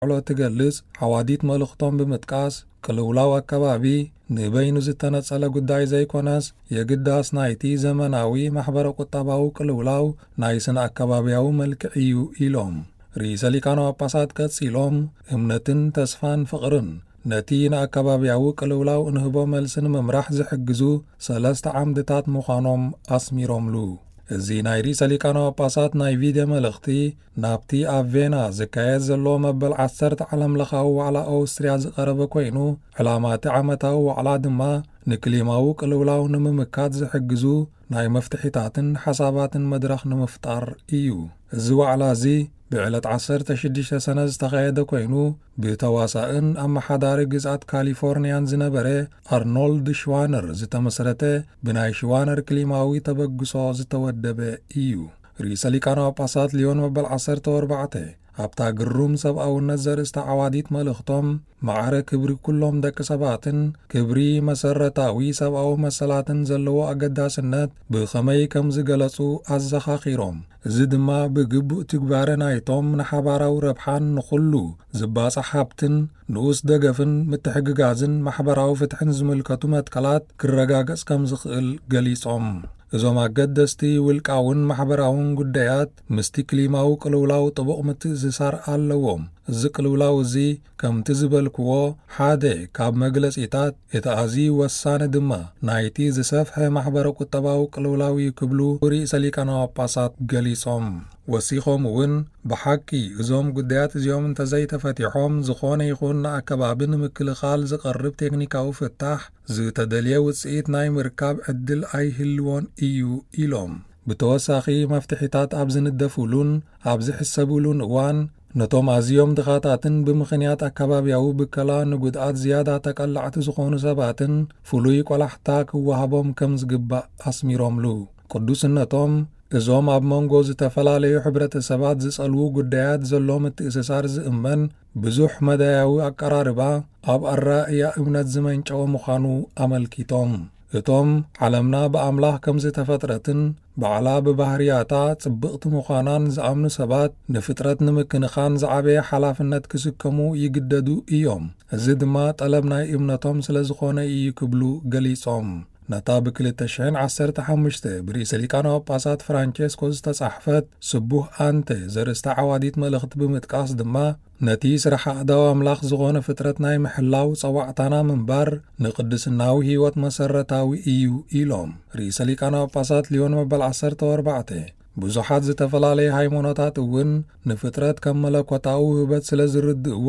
ውዕሎ ትገልጽ ሓዋዲት መልእኽቶም ብምጥቃስ፣ ቅልውላው ኣከባቢ ንበይኑ ዝተነጸለ ጉዳይ ዘይኮነስ፣ የግዳስ ናይቲ ዘመናዊ ማሕበረ ቁጠባዊ ቅልውላው ናይ ስነ ኣከባብያዊ መልክዕ እዩ ኢሎም። ርእሰ ሊቃነ ጳጳሳት ቀጺሎም፣ እምነትን ተስፋን ፍቕርን ነቲ ንኣከባብያዊ ቅልውላው እንህቦ መልሲ ንምምራሕ ዝሕግዙ ሰለስተ ዓምድታት ምዃኖም ኣስሚሮምሉ። እዚ ናይ ርእሰ ሊቃነ ጳጳሳት ናይ ቪድዮ መልእኽቲ፣ ናብቲ ኣብ ቬና ዝካየድ ዘሎ መበል ዓሰርተ ዓለምለኻዊ ዋዕላ ኣውስትርያ ዝቐረበ ኮይኑ፣ ዕላማ እቲ ዓመታዊ ዋዕላ ድማ ንክሊማዊ ቅልውላው ንምምካት ዝሕግዙ ናይ መፍትሒታትን ሓሳባትን መድረኽ ንምፍጣር እዩ። እዚ ዋዕላ እዚ ብዕለት ዓሰርተ ሽዱሽተ ሰነ ዝተኻየደ ኮይኑ፣ ብተዋሳእን ኣመሓዳሪ ግዝኣት ካሊፎርንያን ዝነበረ ኣርኖልድ ሽዋነር ዝተመስረተ፣ ብናይ ሽዋነር ክሊማዊ ተበግሶ ዝተወደበ እዩ። ርእሰ ሊቃነ ጳጳሳት ሊዮን መበል ዓሰርተ ኣርባዕተ፣ ኣብታ ግሩም ሰብኣውነት ዘርእስታ ዓዋዲት መልእኽቶም፣ ማዕረ ክብሪ ኩሎም ደቂ ሰባትን ክብሪ መሰረታዊ ሰብኣዊ መሰላትን ዘለዎ ኣገዳስነት ብኸመይ ከም ዝገለጹ ኣዘኻኺሮም። እዚ ድማ ብግቡእ ትግባረ ናይቶም ንሓባራዊ ረብሓን ንኹሉ ዝባጻሕ ሃብትን ንኡስ ደገፍን ምትሕግጋዝን ማሕበራዊ ፍትሕን ዝምልከቱ መትከላት ክረጋገጽ ከም ዝኽእል ገሊጾም። እዞም ኣገደስቲ ውልቃውን ማሕበራውን ጉዳያት ምስቲ ክሊማዊ ቅልውላው ጥቡቕ ምትእስሳር ኣለዎም። እዚ ቅልውላው እዚ፣ ከምቲ ዝበልክዎ፣ ሓደ ካብ መግለጺታት፣ እቲ ኣዝዩ ወሳኒ ድማ ናይቲ ዝሰፍሐ ማሕበረ ቁጠባዊ ቅልውላው እዩ ክብሉ ርእሰ ሊቃነ ጳጳሳት ገሊጾም። ወሲኾም እውን፣ ብሓቂ እዞም ጉዳያት እዚኦም እንተዘይተፈቲሖም፣ ዝኾነ ይኹን ንኣከባቢ ንምክልኻል ዝቐርብ ቴክኒካዊ ፍታሕ ዝተደልየ ውጽኢት ናይ ምርካብ ዕድል ኣይህልዎን እዩ ኢሎም። ብተወሳኺ፣ መፍትሒታት ኣብ ዝንደፉሉን ኣብ ዝሕሰቡሉን እዋን፣ ነቶም ኣዝዮም ድኻታትን ብምኽንያት ኣከባብያዊ ብከላ ንጉድኣት ዝያዳ ተቀላዕቲ ዝኾኑ ሰባትን ፍሉይ ቆላሕታ ክወሃቦም ከም ዝግባእ ኣስሚሮምሉ። ቅዱስነቶም፣ እዞም ኣብ መንጎ ዝተፈላለዩ ሕብረተሰባት ዝጸልዉ ጉዳያት ዘሎ ምትእስሳር ዝእመን ብዙሕ መዳያዊ ኣቀራርባ፣ ኣብ ኣረኣእያ እምነት ዝመንጨወ ምዃኑ ኣመልኪቶም። እቶም ዓለምና ብኣምላኽ ከም ዝተፈጥረትን ባዕላ ብባህርያታ ጽብቕቲ ምዃናን ዝኣምኑ ሰባት፣ ንፍጥረት ንምክንኻን ዝዓበየ ሓላፍነት ክስከሙ ይግደዱ እዮም። እዚ ድማ ጠለብ ናይ እምነቶም ስለ ዝኾነ እዩ ክብሉ ገሊጾም። ነታ ብ ክልተ ሽሕን ዓሰርተ ሓሙሽተ ብርእሰ ሊቃነ ጳጳሳት ፍራንቸስኮ ዝተጻሕፈት ስቡህ ኣንተ ዘርእስታ ዓዋዲት መልእኽቲ ብምጥቃስ ድማ፣ ነቲ ስራሕ ኣእዳው ኣምላኽ ዝኾነ ፍጥረት ናይ ምሕላው ጸዋዕታና ምንባር፣ ንቅድስናዊ ህይወት መሰረታዊ እዩ ኢሎም። ርእሰ ሊቃነ ጳጳሳት ሊዮን መበል ዓሰርተ ኣርባዕተ፣ ብዙሓት ዝተፈላለዩ ሃይማኖታት እውን ንፍጥረት ከም መለኮታዊ ውህበት ስለ ዝርድእዎ፣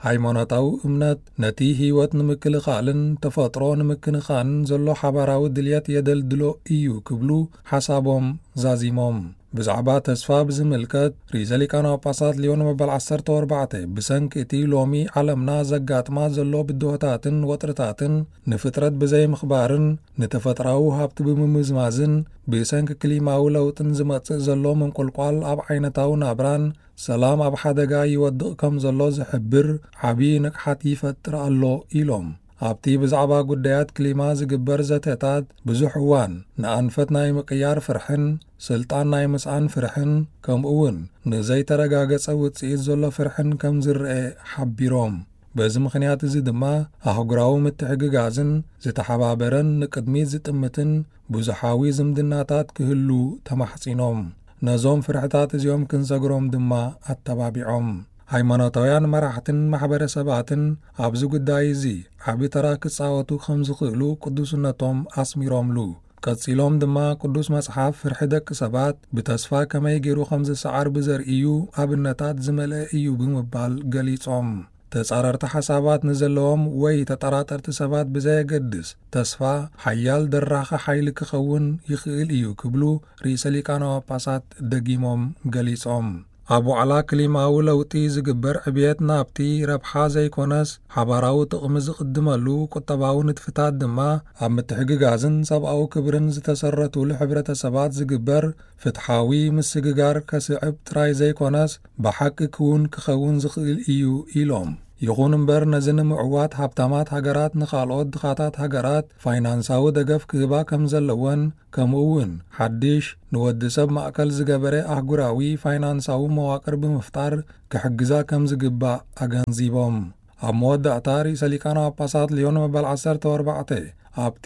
ሃይማኖታዊ እምነት ነቲ ህይወት ንምክልኻልን ተፈጥሮ ንምክንኻንን ዘሎ ሓባራዊ ድልየት የደልድሎ እዩ ክብሉ ሓሳቦም ዛዚሞም። ብዛዕባ ተስፋ ብዝምልከት፣ ርእሰ ሊቃነ ጳጳሳት ሊዮን መበል ዓሰርተ ኣርባዕተ፣ ብሰንኪ እቲ ሎሚ ዓለምና ዘጋጥማ ዘሎ ብድሆታትን ወጥርታትን፣ ንፍጥረት ብዘይምኽባርን ንተፈጥራዊ ሃብቲ ብምምዝማዝን፣ ብሰንኪ ክሊማዊ ለውጥን ዝመጽእ ዘሎ ምንቁልቋል ኣብ ዓይነታዊ ናብራን ሰላም ኣብ ሓደጋ ይወድቕ ከም ዘሎ ዝሕብር ዓቢ ንቕሓት ይፈጥር ኣሎ ኢሎም። ኣብቲ ብዛዕባ ጉዳያት ክሊማ ዝግበር ዘተታት፣ ብዙሕ እዋን ንኣንፈት ናይ ምቅያር ፍርሕን ስልጣን ናይ ምስኣን ፍርሕን፣ ከምኡ እውን ንዘይተረጋገጸ ውጽኢት ዘሎ ፍርሕን ከም ዝረአ ሓቢሮም። በዚ ምኽንያት እዚ ድማ፣ ኣህጉራዊ ምትሕግጋዝን ዝተሓባበረን ንቅድሚት ዝጥምትን ብዙሓዊ ዝምድናታት ክህሉ ተማሕጺኖም። ነዞም ፍርሕታት እዚኦም ክንሰግሮም ድማ ኣተባቢዖም። ሃይማኖታውያን መራሕትን ማሕበረሰባትን ኣብዚ ጉዳይ እዚ ዓቢ ተራ ክጻወቱ ከም ዝኽእሉ ቅዱስነቶም ኣስሚሮምሉ። ቀጺሎም ድማ፣ ቅዱስ መጽሓፍ ፍርሒ ደቂ ሰባት ብተስፋ ከመይ ገይሩ ከም ዝሰዓር ብዘርእዩ ኣብነታት ዝመልአ እዩ ብምባል ገሊጾም። ተጻረርቲ ሓሳባት ንዘለዎም ወይ ተጠራጠርቲ ሰባት ብዘየገድስ፣ ተስፋ ሓያል ደራኺ ሓይሊ ክኸውን ይኽእል እዩ ክብሉ ርእሰ ሊቃነ ጳጳሳት ደጊሞም ገሊጾም። ኣብ ዋዕላ ክሊማዊ ለውጢ ዝግበር ዕብየት ናብቲ ረብሓ ዘይኮነስ፣ ሓባራዊ ጥቕሚ ዝቕድመሉ ቁጠባዊ ንጥፍታት ድማ፣ ኣብ ምትሕግጋዝን ሰብኣዊ ክብርን ዝተሰረቱሉ ሕብረተሰባት ዝግበር ፍትሓዊ ምስግጋር ከስዕብ ጥራይ ዘይኮነስ፣ ብሓቂ ክውን ክኸውን ዝኽእል እዩ ኢሎም። ይኹን እምበር፣ ነዚ ንምዕዋት ሃብታማት ሃገራት ንኻልኦት ድኻታት ሃገራት ፋይናንሳዊ ደገፍ ክህባ ከም ዘለወን፣ ከምኡ እውን ሓድሽ ንወዲ ሰብ ማእከል ዝገበረ ኣህጉራዊ ፋይናንሳዊ መዋቅር ብምፍጣር ክሕግዛ ከም ዝግባእ ኣገንዚቦም። ኣብ መወዳእታ፣ ርእሰ ሊቃነ ጳጳሳት ሊዮን መበል ዓሰርተ ኣርባዕተ ኣብቲ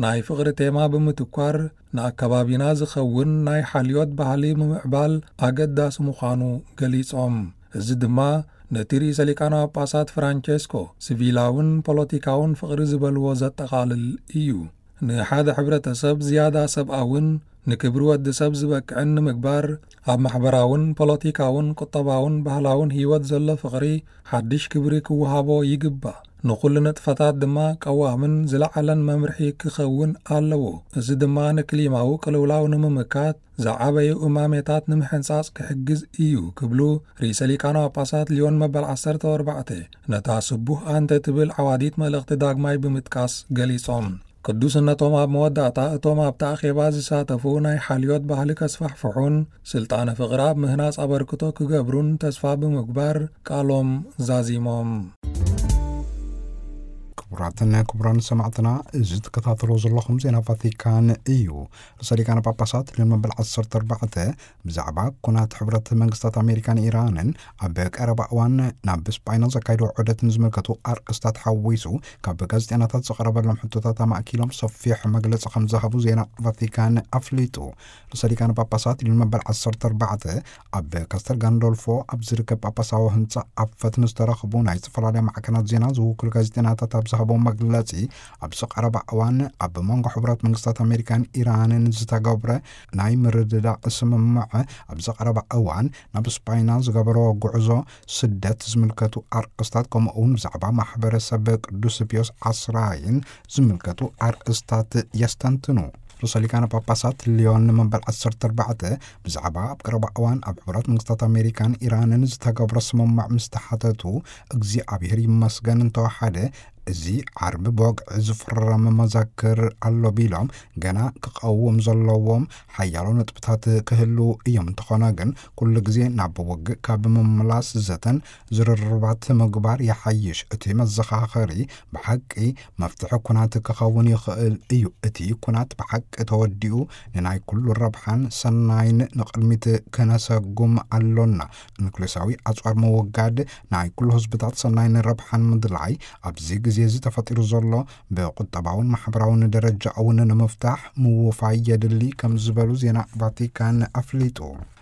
ናይ ፍቕሪ ቴማ ብምትኳር፣ ንኣከባቢና ዝኸውን ናይ ሓልዮት ባህሊ ምምዕባል ኣገዳሲ ምዃኑ ገሊጾም። እዚ ድማ ነቲ ርእሰ ሊቃነ ጳጳሳት ፍራንቸስኮ ሲቪላውን ፖለቲካውን ፍቕሪ ዝበልዎ ዘጠቓልል እዩ። ንሓደ ሕብረተሰብ ዝያዳ ሰብኣውን ንክብሪ ወዲ ሰብ ዝበቅዕን ንምግባር፣ ኣብ ማሕበራውን ፖለቲካውን ቁጠባውን ባህላውን ህይወት ዘሎ ፍቕሪ ሓድሽ ክብሪ ክወሃቦ ይግባእ። ንኹሉ ንጥፈታት ድማ ቀዋምን ዝለዓለን መምርሒ ክኸውን ኣለዎ። እዚ ድማ ንክሊማዊ ቅልውላው ንምምካት ዝዓበዩ እማሜታት ንምሕንጻጽ ክሕግዝ እዩ ክብሉ ርእሰ ሊቃነ ጳጳሳት ሊዮን መበል ዓሰርተ ኣርባዕተ ነታ ስቡህ ኣንተ ትብል ዓዋዲት መልእኽቲ ዳግማይ ብምጥቃስ ገሊጾም። ቅዱስነቶም ኣብ መወዳእታ እቶም ኣብቲ ኣኼባ ዝሳተፉ ናይ ሓልዮት ባህሊ ከስፋሕፍሑን ስልጣነ ፍቕሪ ኣብ ምህናጽ ኣበርክቶ ክገብሩን ተስፋ ብምግባር ቃሎም ዛዚሞም። ክቡራትን ክቡራን ሰማዕትና፣ እዚ ትከታተልዎ ዘለኹም ዜና ቫቲካን እዩ። ርእሰ ሊቃነ ጳጳሳት ሊዮን መበል ዓሰርተ ኣርባዕተ ብዛዕባ ኩናት ሕብረት መንግስታት ኣሜሪካን ኢራንን ኣብ ቀረባ እዋን ናብ ስጳይና ዘካይድዎ ዑደትን ዝምልከቱ ኣርእስታት ሓዊሱ ካብ ጋዜጠኛታት ዝቐረበሎም ሕቶታት ኣማእኪሎም ሰፊሕ መግለጺ ከም ዝሃቡ ዜና ቫቲካን ኣፍሊጡ። ርእሰ ሊቃነ ጳጳሳት ሊዮን መበል ዓሰርተ ኣርባዕተ ኣብ ካስተል ጋንዶልፎ ኣብ ዝርከብ ጳጳሳዊ ህንጻ ኣፈት ንዝተረኽቡ ናይ ዝተፈላለያ ማዕከናት ዜና ዝውክሉ ጋዜጠኛታት ኣብ ዝሃቦ መግለጺ፣ ኣብዚ ቀረባ እዋን ኣብ መንጎ ሕቡራት መንግስታት ኣሜሪካን ኢራንን ዝተገብረ ናይ ምርድዳእ ስምምዕ፣ ኣብዚ ቀረባ እዋን ናብ ስጳይና ዝገበርዎ ጉዕዞ፣ ስደት ዝምልከቱ ኣርእስታት፣ ከምኡ እውን ብዛዕባ ማሕበረሰብ ቅዱስ ፒዮስ ዓስራይን ዝምልከቱ ኣርእስታት የስተንትኑ። ርእሰ ሊቃነ ጳጳሳት ሊዮን መበል ዓሰርተ ኣርባዕተ ብዛዕባ ኣብ ቀረባ እዋን ኣብ ሕቡራት መንግስታት ኣሜሪካን ኢራንን ዝተገብረ ስምምዕ ምስ ተሓተቱ፣ እግዚኣብሔር ይመስገን እንተወሓደ፣ እዚ ዓርቢ ብወግዒ ዝፍረም መዘክር ኣሎ ቢሎም፣ ገና ክቐውም ዘለዎም ሓያሎ ነጥብታት ክህልዉ እዮም። እንተኾነ ግን፣ ኩሉ ግዜ ናብ ውግእ ካብ ምምላስ ዘተን ዝርርባት ምግባር ይሓይሽ። እቲ መዘኻኸሪ ብሓቂ መፍትሒ ኩናት ክኸውን ይኽእል እዩ። እቲ ኩናት ብሓቂ ተወዲኡ፣ ንናይ ኩሉ ረብሓን ሰናይን ንቕድሚት ክነሰጉም ኣሎና። ኑክሌሳዊ ኣጽዋር ምውጋድ፣ ናይ ኩሉ ህዝብታት ሰናይን ረብሓን ምድላይ፣ ኣብዚ ግዜ እዚ ተፈጢሩ ዘሎ ብቁጠባውን ማሕበራውን ደረጃ እውን ንምፍታሕ ምውፋይ የድሊ ከም ዝበሉ ዜና ቫቲካን ኣፍሊጡ።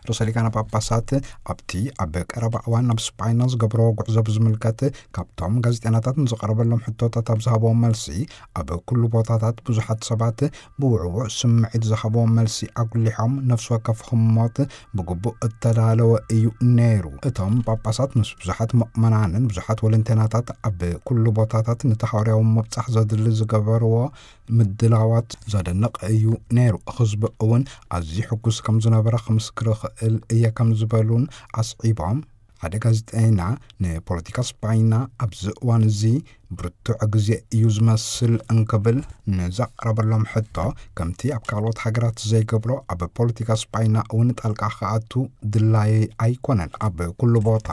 ርእሰ ሊቃነ ጳጳሳት ኣብቲ ኣብ ቀረባ እዋን ናብ ስጳይና ዝገብሮ ጉዕዞ ብዝምልከት፣ ካብቶም ጋዜጠኛታት ንዝቐረበሎም ሕቶታት ኣብ ዝሃብዎ መልሲ፣ ኣብ ኩሉ ቦታታት ብዙሓት ሰባት ብውዕዉዕ ስምዒት ዝሃብዎ መልሲ ኣጉሊሖም፣ ነፍሲ ወከፍ ህሞት ብግቡእ እተዳለወ እዩ ነይሩ። እቶም ጳጳሳት ምስ ብዙሓት ምእመናንን ብዙሓት ወለንቴናታት ኣብ ኩሉ ቦታታት ነቲ ሃዋርያዊ ምብጻሕ ዘድሊ ዝገበርዎ ምድላዋት ዘደንቕ እዩ ነይሩ። ህዝቢ እውን ኣዝዩ ሕጉስ ከም ዝነበረ ክምስክር እኽእል እየ ከም ዝበሉን ኣስዒቦም፣ ሓደ ጋዜጠኛ ንፖለቲካ ስጳይና ኣብዚ እዋን እዚ ብርቱዕ ግዜ እዩ ዝመስል እንክብል ንዘቕረበሎም ሕቶ፣ ከምቲ ኣብ ካልኦት ሃገራት ዘይገብሮ ኣብ ፖለቲካ ስጳይና እውን ጣልቃ ክኣቱ ድላየይ ኣይኮነን። ኣብ ኩሉ ቦታ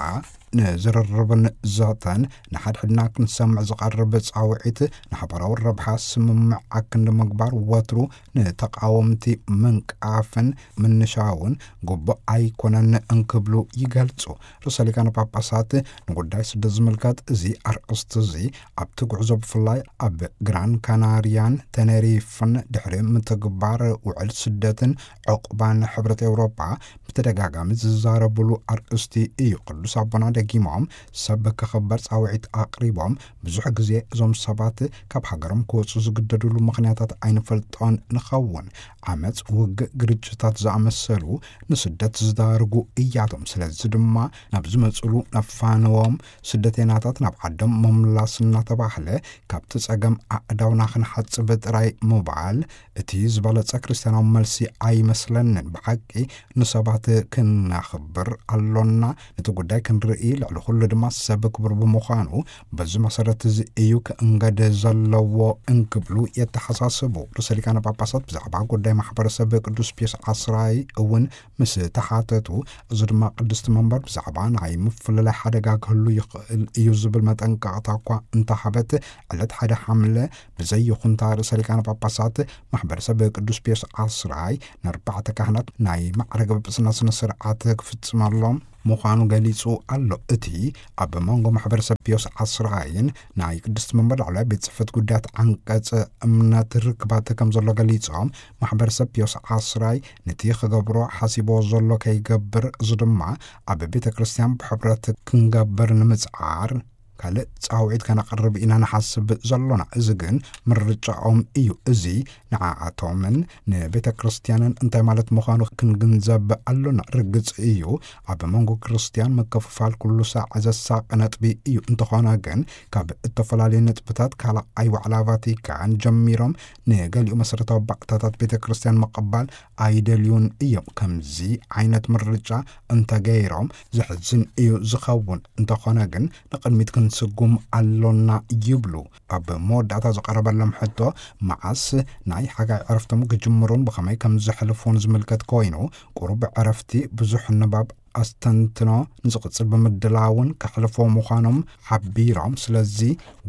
ንዝርርብን ዘተን ንሓድሕድና ክንሰምዕ ዝቐርብ ጻውዒት ንሓባራዊ ረብሓ ስምምዕ ኣክንዲ ምግባር ወትሩ ንተቓወምቲ ምንቃፍን ምንሻውን ግቡእ ኣይኮነን እንክብሉ ይገልጹ። ርእሰ ሊቃነ ጳጳሳት ንጉዳይ ስደት ዝምልከት እዚ ኣርእስቲ እዚ ኣብቲ ጉዕዞ ብፍላይ ኣብ ግራን ካናርያን ተነሪፍን ድሕሪ ምትግባር ውዕል ስደትን ዕቑባን ሕብረት ኤውሮጳ ብተደጋጋሚ ዝዛረብሉ ኣርእስቲ እዩ። ቅዱስ ኣቦና ደጊሞም ሰብ ክኽበር ጻውዒት ኣቕሪቦም፣ ብዙሕ ግዜ እዞም ሰባት ካብ ሃገሮም ክወጹ ዝግደዱሉ ምኽንያታት ኣይንፈልጦን ንኸውን። ዓመጽ፣ ውግእ፣ ግርጭታት ዝኣመሰሉ ንስደት ዝዳርጉ እያቶም። ስለዚ ድማ ናብ ዝመጹሉ ነፋንዎም። ስደተይናታት ናብ ዓዶም ምምላስና እናተባህለ ካብቲ ጸገም ኣእዳውና ክንሓጽብ ጥራይ ምባል እቲ ዝበለጸ ክርስትያናዊ መልሲ ኣይመስለንን። ብሓቂ ንሰባት ክናኽብር ኣሎና፣ ነቲ ጉዳይ ክንርኢ፣ ልዕሊ ኩሉ ድማ ሰብ ክቡር ብምዃኑ፣ በዚ መሰረት እዚ እዩ ክእንገድ ዘለዎ እንክብሉ የተሓሳስቡ። ርእሰ ሊቃነ ጳጳሳት ብዛዕባ ጉዳይ ማሕበረሰብ ቅዱስ ፒዮስ ዓስራይ እውን ምስ ተሓተቱ፣ እዚ ድማ ቅድስቲ መንበር ብዛዕባ ናይ ምፍልላይ ሓደጋ ክህሉ ይኽእል እዩ ዝብል መጠንቀቕታ እኳ እንተሃበት፣ ዕለት ሓደ ሓምለ ብዘይ ይኹንታ ርእሰ ሊቃነ ጳጳሳት ማሕበረሰብ ቅዱስ ፒዮስ ዓስራይ ንኣርባዕተ ካህናት ናይ ማዕረገ ጵጵስና ስነ ስርዓት ክፍጽመሎም ምዃኑ ገሊጹ ኣሎ። እቲ ኣብ መንጎ ማሕበረሰብ ፒዮስ ዓስራይን ናይ ቅድስቲ መንበር ላዕለዋይ ቤት ጽሕፈት ጉዳያት ዓንቀጽ እምነት ርክባት ከም ዘሎ ገሊጾም፣ ማሕበረሰብ ፒዮስ ዓስራይ ነቲ ክገብሮ ሓሲቦ ዘሎ ከይገብር፣ እዚ ድማ ኣብ ቤተ ክርስቲያን ብሕብረት ክንገብር ንምጽዓር ካልእ ጻውዒት ከነቕርብ ኢና ንሓስብ ዘሎና። እዚ ግን ምርጫኦም እዩ። እዚ ንዓኣቶምን ንቤተ ክርስቲያንን እንታይ ማለት ምዃኑ ክንግንዘብ ኣሎና። ርግጽ እዩ፣ ኣብ መንጎ ክርስቲያን ምክፍፋል ኩሉ ሳዕ ዘሳቂ ነጥቢ እዩ። እንተኾነ ግን፣ ካብ እተፈላለዩ ነጥብታት ካልኣይ ዋዕላ ቫቲካን ጀሚሮም ንገሊኡ መሰረታዊ ባእታታት ቤተ ክርስቲያን ምቕባል ኣይደልዩን እዮም። ከምዚ ዓይነት ምርጫ እንተገይሮም ዘሕዝን እዩ ዝኸውን። እንተኾነ ግን ንቕድሚት ክንስጉም ኣሎና ይብሉ። ኣብ መወዳእታ ዝቐረበሎም ሕቶ፣ መዓስ ናይ ሓጋይ ዕረፍቶም ክጅምሩን ብኸመይ ከም ዘሕልፉን ዝምልከት ኮይኑ፣ ቁሩብ ዕረፍቲ፣ ብዙሕ ንባብ፣ ኣስተንትኖ ንዝቕጽል ብምድላውን ከሕልፎ ምዃኖም ሓቢሮም፣ ስለዚ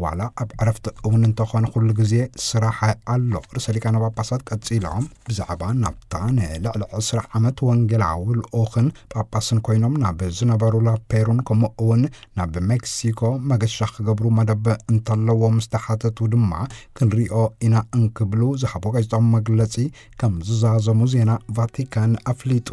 ዋላ ኣብ ዕረፍቲ እውን እንተኾነ ኩሉ ግዜ ስራሕ ኣሎ። ርእሰ ሊቃነ ጳጳሳት ቀጺሎም ብዛዕባ ናብታ ንልዕሊ ዕስራ ዓመት ወንጌላዊ ልኡኽን ጳጳስን ኮይኖም ናብ ዝነበሩላ ፔሩን ከምኡ እውን ናብ ሜክሲኮ መገሻ ክገብሩ መደብ እንተለዎም ዝተሓተቱ ድማ፣ ክንሪኦ ኢና እንክብሉ ዝሃቦ ጋዜጣዊ መግለጺ ከም ዝዛዘሙ ዜና ቫቲካን ኣፍሊጡ።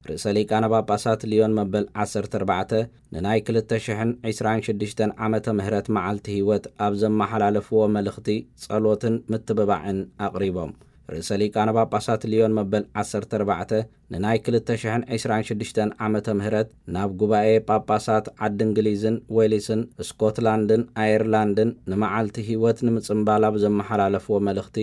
ርእሰ ሊቃነ ጳጳሳት ሊዮን መበል ዓሰርተ ኣርባዕተ ንናይ ክልተ ሽሕን ዕስራን ሽዱሽተን ዓመተ ምህረት መዓልቲ ህይወት ኣብ ዘመሓላለፍዎ መልእኽቲ፣ ጸሎትን ምትብባዕን ኣቕሪቦም። ርእሰ ሊቃነ ጳጳሳት ሊዮን መበል ዓሰርተ ኣርባዕተ ንናይ ክልተ ሽሕን ዕስራን ሽዱሽተን ዓመተ ምህረት ናብ ጉባኤ ጳጳሳት ዓዲ እንግሊዝን ዌልስን ስኮትላንድን ኣየርላንድን ንመዓልቲ ህይወት ንምጽንባል ኣብ ዘመሓላለፍዎ መልእኽቲ፣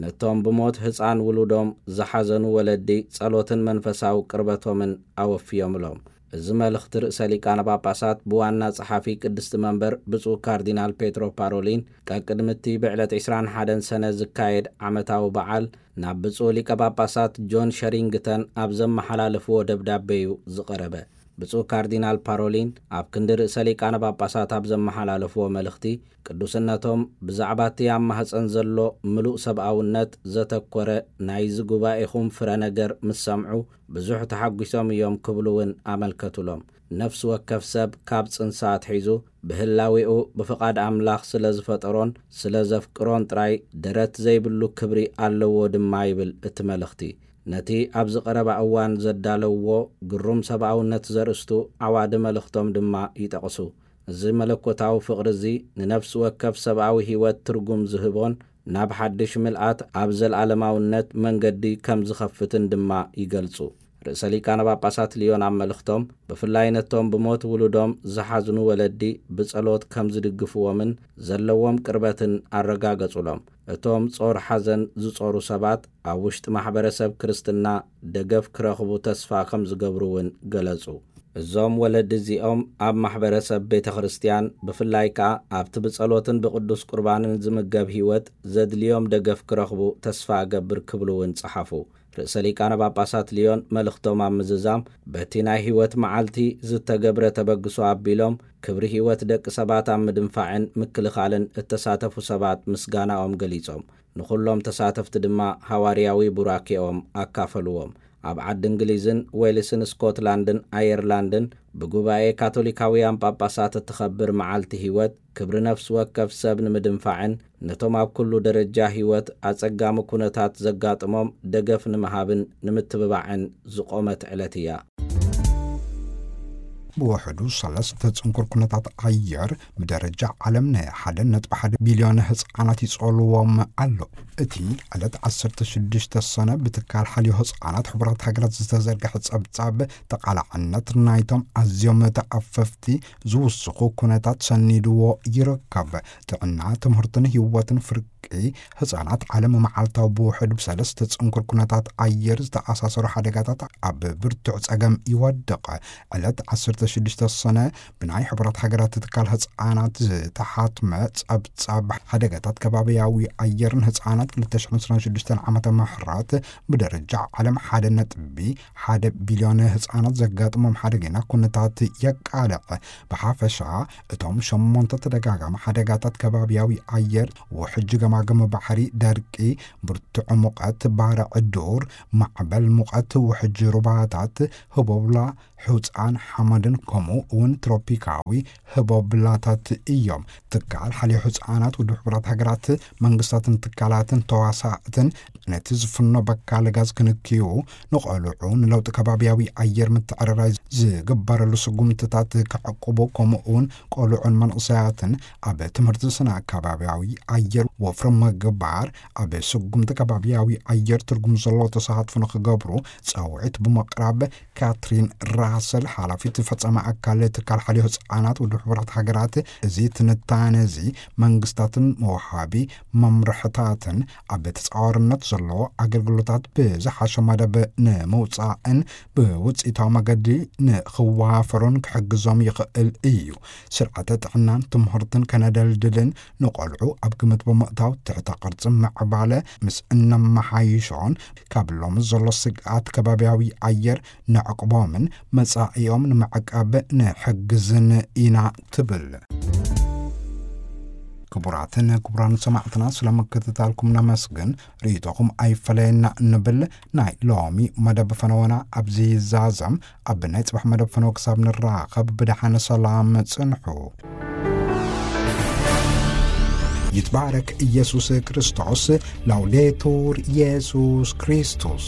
ነቶም ብሞት ህጻን ውሉዶም ዝሓዘኑ ወለዲ ጸሎትን መንፈሳዊ ቅርበቶምን ኣወፍዮምሎም። እዚ መልእኽቲ ርእሰ ሊቃነ ጳጳሳት ብዋና ጸሓፊ ቅድስቲ መንበር ብፁዕ ካርዲናል ፔትሮ ፓሮሊን፣ ቀቅድሚ እቲ ብዕለት ዕስራን ሓደን ሰነ ዝካየድ ዓመታዊ በዓል ናብ ብፁዕ ሊቀ ጳጳሳት ጆን ሸሪንግተን ኣብ ዘመሓላለፍዎ ደብዳቤ እዩ ዝቐረበ። ብፁዕ ካርዲናል ፓሮሊን ኣብ ክንዲ ርእሰ ሊቃነ ጳጳሳት ኣብ ዘመሓላለፍዎ መልእኽቲ፣ ቅዱስነቶም ብዛዕባ እቲ ኣብ ማህጸን ዘሎ ምሉእ ሰብኣውነት ዘተኮረ ናይዚ ጉባኤኹም ፍረ ነገር ምስ ሰምዑ፣ ብዙሕ ተሓጒሶም እዮም ክብሉ እውን ኣመልከቱሎም። ነፍሲ ወከፍ ሰብ ካብ ጽንሳ ኣትሒዙ ብህላዌኡ ብፍቓድ ኣምላኽ ስለ ዝፈጠሮን ስለ ዘፍቅሮን ጥራይ ደረት ዘይብሉ ክብሪ ኣለዎ ድማ ይብል እቲ መልእኽቲ። ነቲ ኣብዚ ቀረባ እዋን ዘዳለውዎ ግሩም ሰብኣውነት ዘርእስቱ ዓዋዲ መልእኽቶም ድማ ይጠቕሱ። እዚ መለኮታዊ ፍቕሪ እዚ ንነፍሲ ወከፍ ሰብኣዊ ህይወት ትርጉም ዝህቦን ናብ ሓድሽ ምልኣት ኣብ ዘለኣለማውነት መንገዲ ከም ዝኸፍትን ድማ ይገልጹ። ርእሰ ሊቃነ ጳጳሳት ሊዮን ኣብ መልእኽቶም፣ ብፍላይ ነቶም ብሞት ውሉዶም ዝሓዝኑ ወለዲ ብጸሎት ከም ዝድግፍዎምን ዘለዎም ቅርበትን ኣረጋገጹሎም። እቶም ጾር ሓዘን ዝጾሩ ሰባት ኣብ ውሽጢ ማሕበረሰብ ክርስትና ደገፍ ክረኽቡ ተስፋ ከም ዝገብሩ እውን ገለጹ። እዞም ወለዲ እዚኦም ኣብ ማሕበረሰብ ቤተ ክርስቲያን፣ ብፍላይ ከኣ ኣብቲ ብጸሎትን ብቅዱስ ቁርባንን ዝምገብ ህይወት ዘድልዮም ደገፍ ክረኽቡ ተስፋ እገብር ክብሉ እውን ጸሓፉ። ርእሰ ሊቃነ ጳጳሳት ሊዮን መልእኽቶም ኣብ ምዝዛም፣ በቲ ናይ ህይወት መዓልቲ ዝተገብረ ተበግሶ ኣቢሎም፣ ክብሪ ህይወት ደቂ ሰባት ኣብ ምድንፋዕን ምክልኻልን እተሳተፉ ሰባት ምስጋናኦም ገሊጾም፣ ንኹሎም ተሳተፍቲ ድማ ሃዋርያዊ ቡራኬኦም ኣካፈልዎም። ኣብ ዓዲ እንግሊዝን ዌልስን ስኮትላንድን ኣየርላንድን ብጉባኤ ካቶሊካውያን ጳጳሳት እትኸብር መዓልቲ ህይወት፣ ክብሪ ነፍሲ ወከፍ ሰብ ንምድንፋዕን ነቶም ኣብ ኩሉ ደረጃ ህይወት ኣጸጋሚ ኩነታት ዘጋጥሞም ደገፍ ንምሃብን ንምትብባዕን ዝቖመት ዕለት እያ። ብውሕዱ ሰለስተ ጽንኩር ኩነታት ኣየር ብደረጃ ዓለም ን ሓደ ነጥቢ ሓደ ቢልዮን ህጻናት ይጸልዎም ኣሎ። እቲ ዕለት ዓሰርተ ሽዱሽተ ሰነ ብትካል ሓልዮ ህጻናት ሕቡራት ሃገራት ዝተዘርግሐ ጸብጻብ፣ ተቓላዕነት ናይቶም ኣዝዮም ተኣፈፍቲ ዝውስኹ ኩነታት ሰኒድዎ ይርከብ። ጥዕና፣ ትምህርትን ህይወትን ፍርቂ ህጻናት ዓለም መዓልታዊ ብውሕዱ ብሰለስተ ጽንኩር ኩነታት ኣየር ዝተኣሳሰሩ ሓደጋታት ኣብ ብርቱዕ ጸገም ይወድቕ። ዕለት ዓሰርተ ሽዱሽተ ሰነ ብናይ ሕቡራት ሃገራት ትካል ህጻናት ዝተሓትመ ጸብጻብ ሓደጋታት ከባቢያዊ ኣየርን ህጻናት ክልተ ሽሕን ዕስራን ሽዱሽተን ዓመተ ምህረት ብደረጃ ዓለም ሓደ ነጥቢ ሓደ ቢልዮን ህጻናት ዘጋጥሞም ሓደገኛ ኩነታት የቃልዕ። ብሓፈሻ እቶም ሸሞንተ ተደጋጋሚ ሓደጋታት ከባቢያዊ ኣየር፣ ውሕጅ ገማግም ባሕሪ፣ ደርቂ፣ ብርቱዕ ሙቐት፣ ባርዕ ዱር፣ ማዕበል ሙቐት፣ ውሕጅ ሩባታት፣ ህቦብላ፣ ሑጻን ሓመድን ከምኡ እውን ትሮፒካዊ ህቦብላታት እዮም። ትካል ሓልዮ ህጻናት ውድብ ሕቡራት ሃገራት መንግስታትን ትካላትን ተዋሳእትን ነቲ ዝፍኖ በካል ጋዝ ክንክዩ፣ ንቆልዑ ንለውጢ ከባቢያዊ ኣየር ምትዕርራይ ዝግበረሉ ስጉምትታት ክዕቅቡ፣ ከምኡ እውን ቆልዑን መንእሰያትን ኣብ ትምህርቲ ስነ ከባቢያዊ ኣየር ወፍሪ ምግባር፣ ኣብ ስጉምቲ ከባቢያዊ ኣየር ትርጉም ዘለዎ ተሳትፎ ንክገብሩ ጸውዒት ብምቕራብ፣ ካትሪን ራሰል፣ ሓላፊት ፈጻሚ ኣካል ትካል ሓልዮ ህጻናት ውድብ ሕቡራት ሃገራት፣ እዚ ትንታነ እዚ መንግስታትን መውሃቢ መምርሕታትን ኣብ ተጻዋርነት ዘለዎ ኣገልግሎታት ብዝሓሸ መደብ ንምውጻእን ብውጽኢታዊ መገዲ ንኽዋፈሩን ክሕግዞም ይኽእል እዩ። ስርዓተ ጥዕናን ትምህርትን ከነደልድልን ንቆልዑ ኣብ ግምት ብምእታው፣ ትሕተ ቅርጺ ምዕባለ ምስ እነመሓይሾን ካብ ሎሚ ዘሎ ስግኣት ከባቢያዊ ኣየር ነዕቅቦምን መጻኢኦም ንምዕቃብ ንሕግዝን ኢና ትብል። ክቡራትን ክቡራን ሰማዕትና፣ ስለ ምክትታልኩም ነመስግን። ርእይቶኹም ኣይፈለየና እንብል። ናይ ሎሚ መደብ ፈነወና ኣብዚ ይዛዘም። ኣብ ናይ ጽባሕ መደብ ፈነወ ክሳብ ንራኸብ፣ ብደሓን ሰላም ጽንሑ። ይትባረክ ኢየሱስ ክርስቶስ። ላውዴቱር ኢየሱስ ክርስቶስ።